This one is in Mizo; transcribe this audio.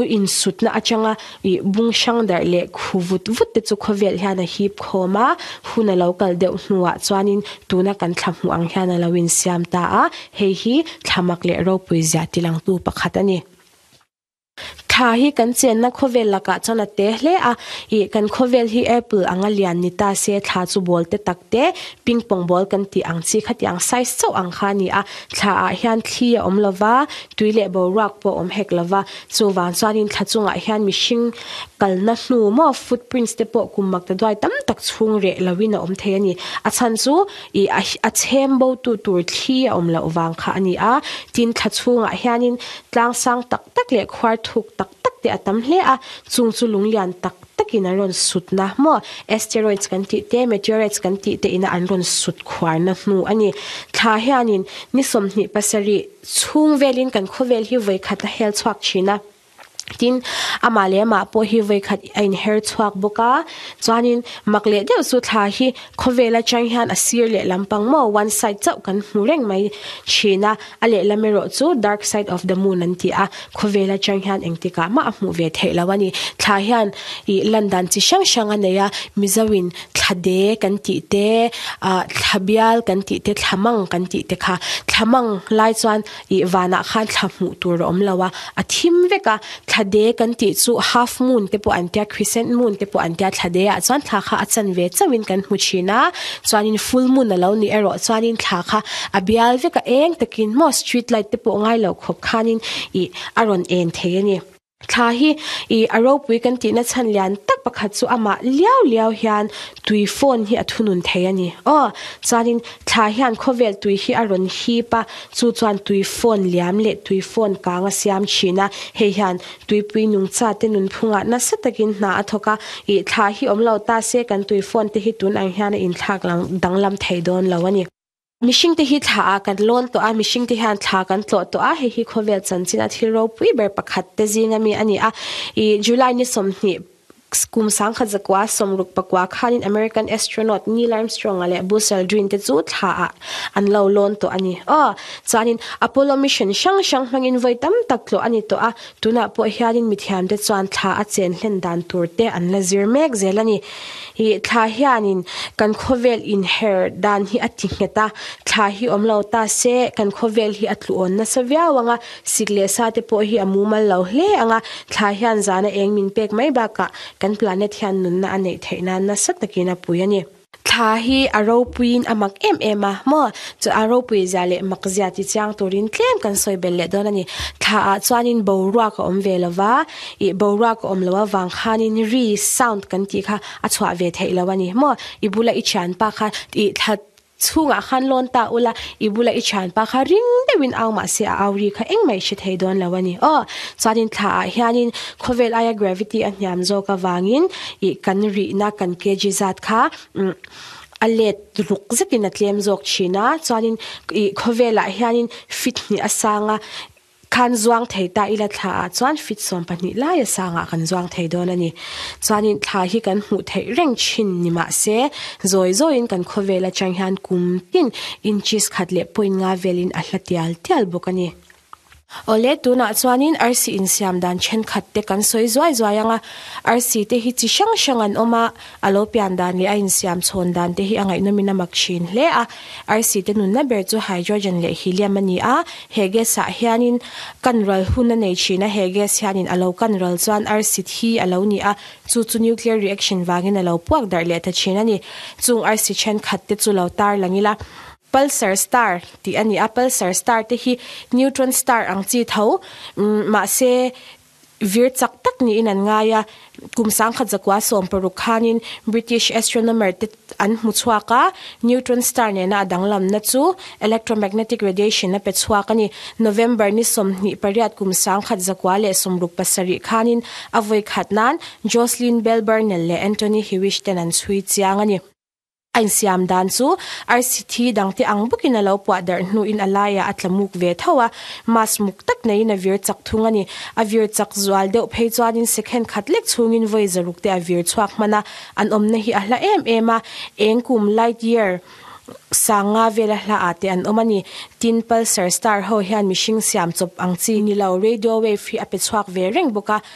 Insutna atanga ih bung hrang darh leh khu vut vut te chu khawvel hian a hip khawm a, hun a lo kal deuh hnuah chuanin tuna kan thla hmuh ang hian a lo insiam ta a, hei hi thla mak leh ropui zia tilangtu pakhat a ni. Thla hi kan chenna khawvel lakah chuan a te hle a, ih kan khawvel hi apple anga lian ni ta se thla chu ball te tak te, ping pong ball kan tih ang chi khatiang size chauh ang kha a ni a, thla ah hian thli a awm lova, tui leh boruak pawh a awm hek lova, chuvang chuanin thla chungah hian mihring kalna hnu maw footprints te pawh kum mak ta duai tam tak chhung reh loin a awm thei a ni. A chhan chu ih a chhem bo tu tur thli a awm loh vang kha a ni a, tin thla chhungah hianin tlang sang tak tak leh khuar thuk tak tak te a tam hle a, chung chu lunglian tak takin an rawn sutna maw asteroids kan tih te meteorites kan tih te ina an rawn sut khuarna hnu a ni. Thla hianin ni 27 chhung velin kan khawvel hi vawi khat a hel chhuak thin a, tin amah leh amah pawh hi vawi khat a inher chhuak bawk a, chuanin mak leh deuh chu thla hi khawvel atang hian a sir leh lampang maw one side chauh kan hmu reng mai thin a, A lehlam erawh chu Dark Side of the Moon an ti a, khawvel atang hian engtikah mah a hmuh ve theih lo a ni. Thla hian ih lan dan chi hrang hrang a nei a, Mizoin thla de kan tih te, ah thla bial kan tih te, thla mang kan tih te kha. Thla mang lai chuan ih vanah khan thla hmuh tur a awm lo a, a thim vek a. Thla de kan tih chu half moon te pawh an tia, crescent moon te pawh an tia, thla de ah chuan thla kha a chan ve chauhin kan hmu thin a, chuanin full moon a lo nih erawh chuanin thla kha a bial vek a eng takin maw street light te pawh ngai lo khawp khanin ih a rawn en thei a ni. Thla hi ih a ropui kan tihna chhan lian tak pakhat chu amah liau liau hian tui phone hi a thunun thei a ni. Aw chuanin thla hian khawvel tui hi a rawn hip a, chu chuan tui phone liam leh tui phone kang a siam thin a, hei hian tuipui nungcha te nunphungah nasa takin hna a thawk a, ih thla hi awm lo ta se kan tui phone te hi tun ang hian a inthlak danglam thei dawn lo a ni. Mihring te hi thla ah kan lawn tawh a, mihring te hian thla kan tlawh tawh a, hei hi khawvel chanchin a thil ropui ber pakhat te zing ami a ni a, ih July ni 20 kum 1964 khanin American astronaut Neil Armstrong-a leh Buzz Aldrin te chu thla ah an lo lawn tawh a ni. Aw, chuanin Apollo mission hrang hrang hmangin vawi tam tak tlawh a ni tawh a, tunah pawh hianin mithiam te chuan thla a chen hlen dan tur te an la zir mek zel a ni. Ih thla hianin kan khawvel inher dan hi a ti nghet a, thla hi awm lo ta se kan khawvel hi a tluawn nasa viau ang a, sik leh sa te pawh hi a mumal lo hle ang a, thla hian zana eng min pek mai bakah kan planet hian nunna a neih theih nan nasa takin a pui a ni. Thla hi a ropuiin a mak em em a maw? Chu a ropui zia leh mak zia ti chiang turin tlem kan sawi belh leh dawn a ni. Thla ah chuanin boruak a awm ve lo va, ih boruak a awm lo avang khanin ri, sound, kan tih kha a chhuah ve theih lo a ni maw? I bula i thianpa kha ih thla chhungah khan lawn ta ula, i bula i thianpa kha ring deuhin au mahse a au ri kha engmah i hre thei dawn lo a ni aw. Chuanin thla ah hianin khawvel aia gravity a hniam zawk avangin ih kan rihna kan kg zat kha umm a let ruk zetin a tlem zawk thin a, chuanin ih khawvelah hianin feet hnih a sang a, khan zuang thei ta ila thla ah chuan feet 12 lai a sangah kan zuang thei dawn a ni. Chuanin thla hi kan hmuh theih reng thin ni mahse zawi zawiin kan khawvel atang hian kum tin inches khat leh point nga velin a hla tial tial bawk a ni. Awle, tunah chuanin arsi insiam dan thenkhat te kan sawi zuai zuai ang a, arsi te hi chi hrang hrang an awm a, a lo pian dan leh a insiam chhawn dan te hi a ngaihnawmin a mak thin hle a. Arsi te nunna ber chu hydrogen leh helium a ni a, he gas ah hianin kan ral hun a nei thin a, he gas hianin a lo kan ral chuan arsi thi a lo ni a, chu chu nuclear reaction vangin a lo puak darh leh ta thin a ni. Chung arsi thenkhat te chu lo tarlang ila. Pulsar star tih a ni a, pulsar star te hi neutron star ang chi tho mahse vir chak tak niin an ngai a, kum 1916 khanin British astronomer te an hmu chhuak a, neutron star nena a danglamna chu electromagnetic radiation a pe chhuak a ni. November ni 28 kum 1967 khanin a vawi khat nan Jocelyn Bell Burnell leh Antony Hewish ten an chhui chiang a ni. A insiam dan chu arsi thi dangte ang bawkin a lo puah darh hnuin a laiah a tla muk ve tho a, mask muk tak neiin a vir chak thung a ni. A vir chak zual deuh phei chuanin second khat lek chhungin vawi zaruk te a vir chhuak hman a, an awmna hi a hla em em a, eng kum, light year, Sanga vela hla ah te an awm a ni tin pulsar star ho hian mihring siam chawp ang chi nilo radio wave hi a pe chhuak ve reng bawk a.